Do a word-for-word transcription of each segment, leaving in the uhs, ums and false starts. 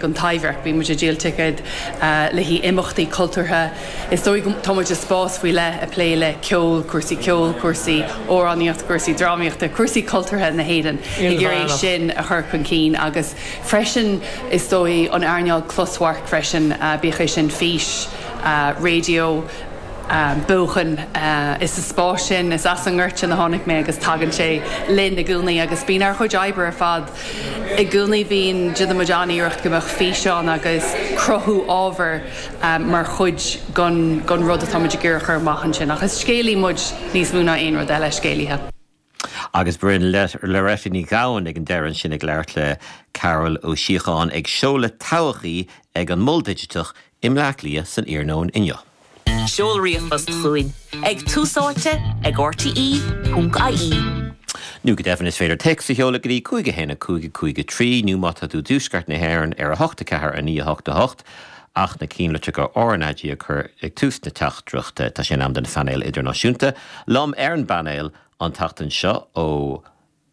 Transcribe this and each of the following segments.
An Taibhdhearc, bíonn muid ag díol ticéad le haghaidh imeachtaí cultúrtha. Is dóigh tá muid i spás faoi leith ag plé le ceol, cúrsaí ceoil, cúrsaí amhránaíocht, cúrsaí drámaíochta, cúrsaí cultúrtha na hÉireann ag iarraidh sin a chur chun cinn agus freisin is dóigh an earnáil closamhairc freisin bíodh é sin fís, raidió, beochan is sa spás sin is as an ngort sin a tháinig mé agus tagann sé linn i gcónaí agus bíonn ár gcuid oibre ar fad i gcónaí bíonn déanann muid an-iarracht go mbeadh físeán agus cruthú ábhair mar chuid den den rud atá muid ag iarraidh a chur amach ansin ach is scéalaí muid níos mó ná aon rud eile scéalaithe. Agus b'in Loretta Ní Ghabhann ag an deireadh sin ag labhairt le Carol Ó Síocháin ag seoladh todhchaí ag an Mol Digiteach i mBleá Cliath san iarnóin inniu. Seol ríomhphost chugainn ag túsáite ag RTE ponc IE. Nó go deimhin is féidir téacs a sheoladh go dtí cúig a haon a cúig a cúig a trí nó má tá tú i dtuaisceart na hÉireann ar a hocht a ceathair a naoi a hocht a hocht ach na cinnlitreacha RnaG a chur ag tús na teachtaireachta tá sé in am don phainéal idirnáisiúnta. Liom ar an bpainéal an tseachtain seo ó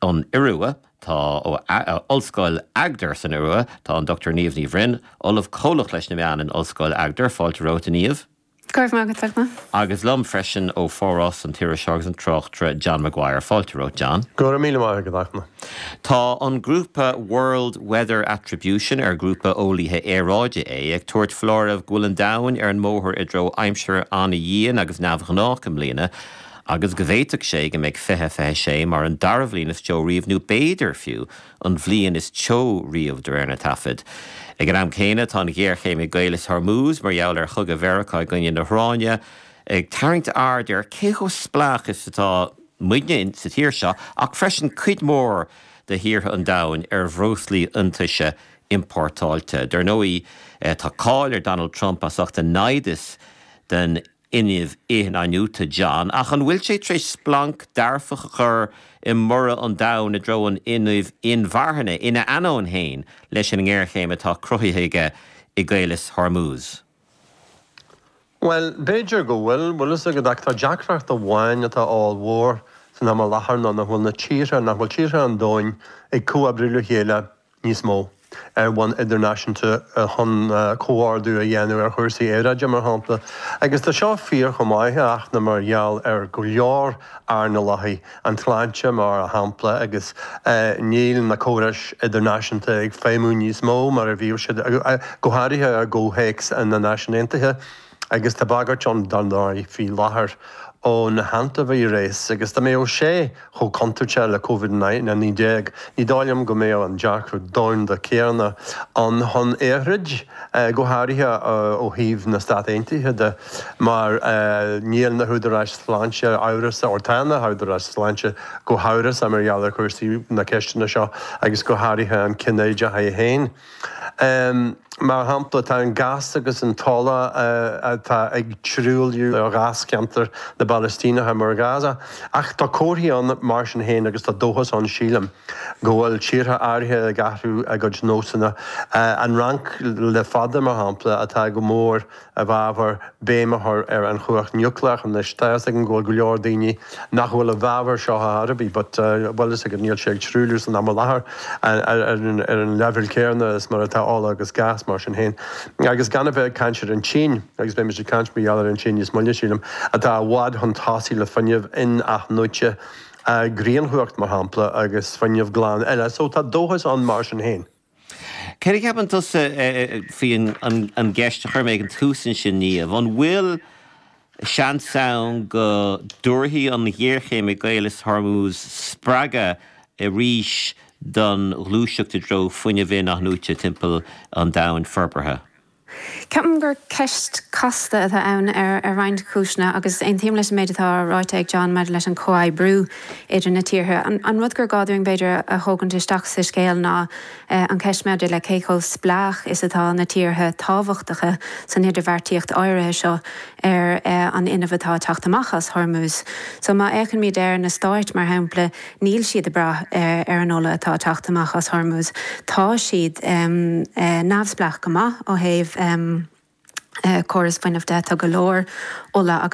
an Iorua tá ó Ollscoil Agder san Iorua tá an Dr Niamh Ní Bhroin, Ollamh Comhlach leis na meáin in Ollscoil Agder, fáilte romhat a Niamh. Go raibh maith agat. Agus liom freisin ó Pháras an t-iriseoir agus an tráchtaire John Maguire fáilte romhat John. Go raibh míle maith agat. Tá an grúpa World Weather Attribution ar grúpa eolaithe aeráide é ag tabhairt foláireamh go bhfuil an domhan ar an mbóthar i dtreo aimsir an-dhian agus neamhghnách i mbliana, agus go bhféadfadh sé go mbeidh fiche fiche sé mar an dara bhliain is teo riamh nó b'fhéidir fiú an bhliain is teo riamh de réir na taifead. Ag an am céanna tá an ghéarchéim i gCaolas Hormuz mar gheall ar chogadh Mheiriceá i gcoinne na hIaráine ag tarraingt aird ar cé chomh spleách is atá muidne sa tír seo ach freisin cuid mhór de thíortha an domhain ar bhreoslaí iontaise iompórtáilte. Dar ndóigh tá cáil ar Donald Trump as ucht a naimhdeas den fhuinneamh in-athnuaite John, ach an bhfuil sé tar éis splanc dearfach a chur i mborradh an domhain i dtreo an fhuinnimh inmharthana ina ainneoin féin leis an ngéarchéim atá cruthaithe aige i gCaolas Hormuz. Well, b'fhéidir go bhfuil bhfuil a fhios agat ach tá deacracht amháin atá ollmhór san am i láthair ná nach bhfuil na tíortha nach bhfuil tíortha an domhain ag comhoibriú le chéile níos mó ar bhonn idirnáisiúnta chun comhordú a dhéanamh ar chúrsaí aeráide mar shampla. Agus tá seo fíor chomh maith ach na mar gheall ar go leor earnálacha an tsláinte mar shampla agus níl na córais idirnáisiúnta ag feidhmiú níos mó mar a bhíodh siad go háirithe i gcomhthéacs na Náisiún Aontaithe agus tá bagairt ann don dóigh faoi láthair ón hantaivíreas agus dá mbeadh sé chomh contúirteach le Covid naoi déag. Ní dóigh liom go mbeadh an dearcadh domhanda céanna ann chun é a throid, go háirithe ó thaobh na Stát Aontaithe de, mar níl na húdaráis sláinte amhrasach, or tá na húdaráis sláinte go hamhrasach mar gheall ar chúrsaí na ceisteanna seo agus go háirithe an cinnéideach é féin. Mar shampla, tá an gás agus an t-ola atá ag truailliú ó gháscheantar na bPalaistíneach mar Gaza, ach tá comharthaí ann mar sin féin agus tá dóchas ann sílim go bhfuil tíortha áirithe ag athrú a gcuid nósanna. An Fhrainc le fada mar shampla atá go mór i bhfabhar béim a chur ar an chumhacht núicléach anois. Tá a fhios agam go bhfuil go leor daoine nach bhfuil i bhfabhar seo ar bith, but bhfuil a fhios agat níl sé ag truailliú san am i láthair ar an leibhéal céanna is mar atá ola agus gás mar sin féin. Agus gan a bheith ag caint ar an tSín, agus beimid ag caint mar gheall ar an tSín níos moille sílim, atá i bhfad chun tosaigh le fuinneamh in-athnuaite, grianchumhacht mar shampla agus fuinneamh glan eile. So tá dóchas ann mar sin féin. Céard a cheapann tusa faoi an gceist a chuir mé ag an tús ansin Niamh, an bhfuil seans ann go dtabharfaidh an ghéarchéim i gCaolas Hormuz spreagadh arís don ghluaiseacht i dtreo fuinneamh in-athnuaite timpeall an domhain forbartha? Ceapaim gur ceist casta atá ann ar ar roinnt cúiseanna agus aontaím leis an méid atá ráite ag John maidir leis an comhoibriú idir na tíortha. An, an rud gur gá dúinn b'fhéidir a thógaint isteach sa scéal ná an cheist maidir le cé chomh spleách is atá na tíortha tábhachtacha san idirbheartaíocht áirithe seo ar an fhuinneamh atá ag teacht amach as Hormuz. So má fhéachaimid ar na stáit mar shampla, níl siad ag brath ar an ola atá ag teacht amach as Hormuz. Tá siad um, neamhspleách go maith ó thaobh um, córas fuinnimh de tá go leor ola agus